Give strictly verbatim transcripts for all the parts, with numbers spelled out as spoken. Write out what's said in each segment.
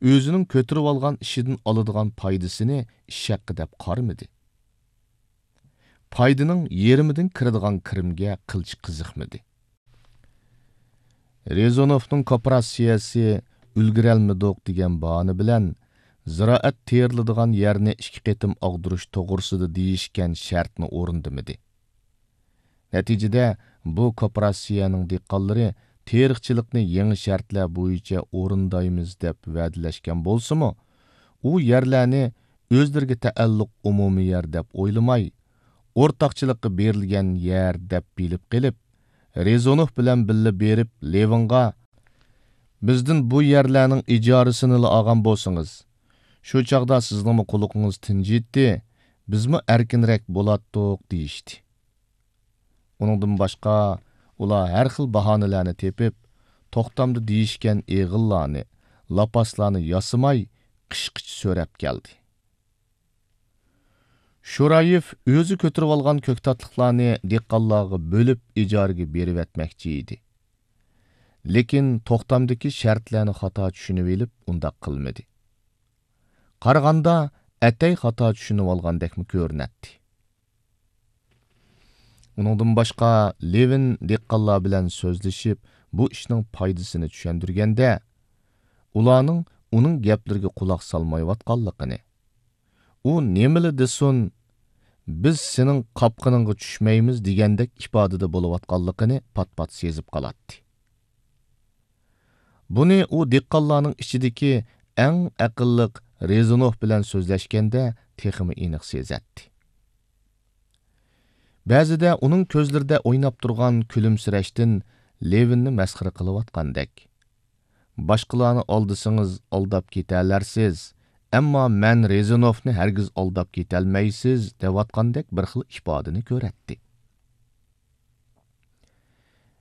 ئۆزىنىڭ كۆتۈرۈۋالغان ئىشىدىن ئالىدىغان پايدىسىنى ئىش ھەققى دەپ قارىمىدى. پايدىنىڭ يېرىمىدىن كىرىدىغان كىرىمگە قىلچە قىزىقمىدى. رېزۇنوفنىڭ كوپىراتسىيەسى ئۈلگۈرەلمىدۇق دېگەن باھانە بىلەن زىرائەت تېرىلىدىغان يەرنى ئىككى قېتىم ئاغدۇرۇش توغرىسىدا دېيىشكەن شەرتنى ئورۇندىمىدى. نەتىجىدە، بۇ كوپىراتسىيەنىڭ دېھقانلىرى تېرىقچىلىقنى يېڭى شەرتلەر بويىچە ئورۇندايمىز دەپ ۋەدىلەشكەن بولسىمۇ، ئۇ يەرلەرنى ئۆزلىرىگە تەئەللۇق ئومۇمىي يەر دەپ ئويلىماي، ئورتاقچىلىققا بېرىلگەن يەر دەپ بىلىپ قېلىپ، رېزۇنوف بىلەن بىللە بېرىپ لېۋىنغا، «بىزدىن بۇ يەرلەرنىڭ ئىجارىسىنىلا ئالغان بولسىڭىز، شۇ چاغدا سىزنىڭمۇ قۇلىقىڭىز تىنجىيتتى، بىزمۇ ئەركىنرەك بولاتتۇق» دېيىشتى. ئۇنىڭدىن باشقا، ئۇلار ھەر خىل باھانىلەرنى تېپىپ، توختامدا دېيىشكەن ئېغىللارنى، لاپاسلارنى ياسىماي، قىشقىچە سۆرەپ كەلدى. شورايېف ئۆزى كۆتۈرۈۋالغان كۆكتاتلىقلارنى دېھقانلارغا بۆلۈپ ئىجارىگە بېرىۋەتمەكچى ئىدى. لېكىن توختامدىكى شەرتلەرنى خاتا چۈشىنىۋېلىپ، ئۇنداق قىلمىدى. قارىغاندا، ئەتەي خاتا چۈشىنىۋالغاندەكمۇ كۆرۈنەتتى. ئۇنىڭدىن باشقا، لېۋىن دېھقانلار بىلەن سۆزلىشىپ، بۇ ئىشنىڭ پايدىسىنى چۈشەندۈرگەندە، ئۇلارنىڭ ئۇنىڭ گەپلىرىگە قۇلاق سالمايۋاتقانلىقىنى، ئۇ نېمىلا دېسۇن، «بىز سېنىڭ قاپقىنىڭغا چۈشمەيمىز» دېگەندەك ئىپادىدە بولۇۋاتقانلىقىنى پات-پات سېزىپ قالاتتى. بۇنى ئۇ دېھقانلارنىڭ ئىچىدىكى ئەڭ ئەقىللىق رېزۇنوف بىلەن سۆزلەشكەندە تېخىمۇ ئېنىق سېزەتتى. بەزىدە ئۇنىڭ كۆزلىرىدە ئويناپ تۇرغان كۈلۈمسىرەشتىن لېۋىننى مەسخىرە قىلىۋاتقاندەك، «باشقىلارنى ئالدىسىڭىز ئالداپ كېتەلەرسىز، ئەمما مەن رېزۇنوفنى ھەرگىز ئالداپ كېتەلمەيسىز» دەۋاتقاندەك بىر خىل ئىپادىنى كۆرەتتى.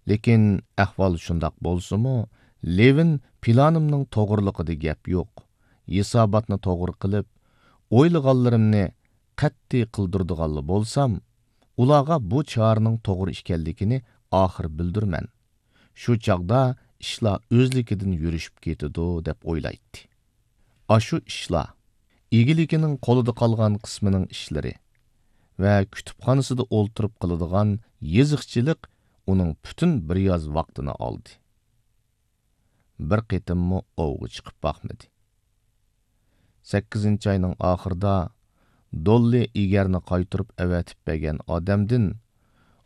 لېكىن ئەھۋال شۇنداق بولسىمۇ، لېۋىن پىلانىمنىڭ توغرىلىقىدا گەپ يوق. ھېساباتنى توغرا قىلىپ، ئويلىغانلىرىمنى قەتئىي قىلدۇرىدىغانلا بولسام، ئۇلارغا بۇ چارىنىڭ توغرا ئىكەنلىكىنى ئاخىر بىلدۈرىمەن. شۇ چاغدا ئىشلار ئۆزلۈكىدىن يۈرۈشۈپ كېتىدۇ، دەپ ئويلايتتى. ئاشۇ ئىشلار، ئىگىلىكىنىڭ قولىدا قالغان قىسمىنىڭ ئىشلىرى ۋە كۇتۇپخانىسىدا ئولتۇرۇپ قىلىدىغان يېزىقچىلىق ئۇنىڭ پۈتۈن بىر ياز ۋاقتىنى ئالدى. بىر قېتىممۇ ئوۋغا چىقىپ باقمىدى. سەككىزىنچى ئاينىڭ ئاخىرىدا دوللى ئېگەرنى قايتۇرۇپ ئەۋەتىپ بەرگەن ئادەمدىن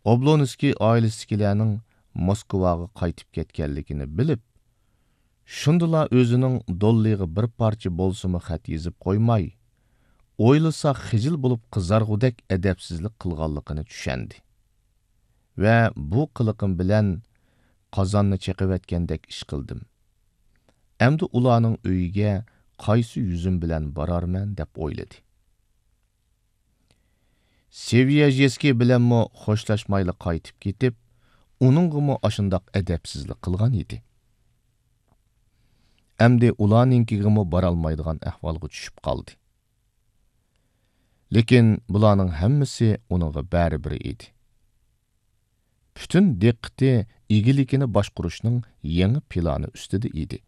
ئوبلونسكىي ئائىلىسىدىكىلەرنىڭ موسكۋاغا قايتىپ كەتكەنلىكىنى بىلىپ، شۇندىلا ئۆزىنىڭ دوللىغا بىر پارچە بولسىمۇ خەت يېزىپ قويماي، ئويلىسا خىجىل بولۇپ قىزارغۇدەك ئەدەپسىزلىك قىلغانلىقىنى چۈشەندى. ۋە بۇ قىلىقىم بىلەن قازاننى چېقىۋەتكەندەك ئىش قىلدىم. ئەمدى ئۇلارنىڭ ئۆيىگە قايسى يۈزۈم بىلەن بارارمەن دەپ ئويلىدى. سېۋىيەژېسكىي بىلەنمۇ خوشلاشمايلا قايتىپ كېتىپ، ئۇنىڭغىمۇ ئاشۇنداق ئەدەپسىزلىك قىلغان ئىدى. ئەمدى ئۇلارنىڭكىگىمۇ بارالمايدىغان ئەھۋالغا چۈشۈپ قالدى. لېكىن بۇلارنىڭ ھەممىسى ئۇنىڭغا بەرىبىر ئىدى. پۈتۈن دىققىتى ئىگىلىكىنى باشقۇرۇشنىڭ يېڭى پىلانى ئۈستىدە ئىدى.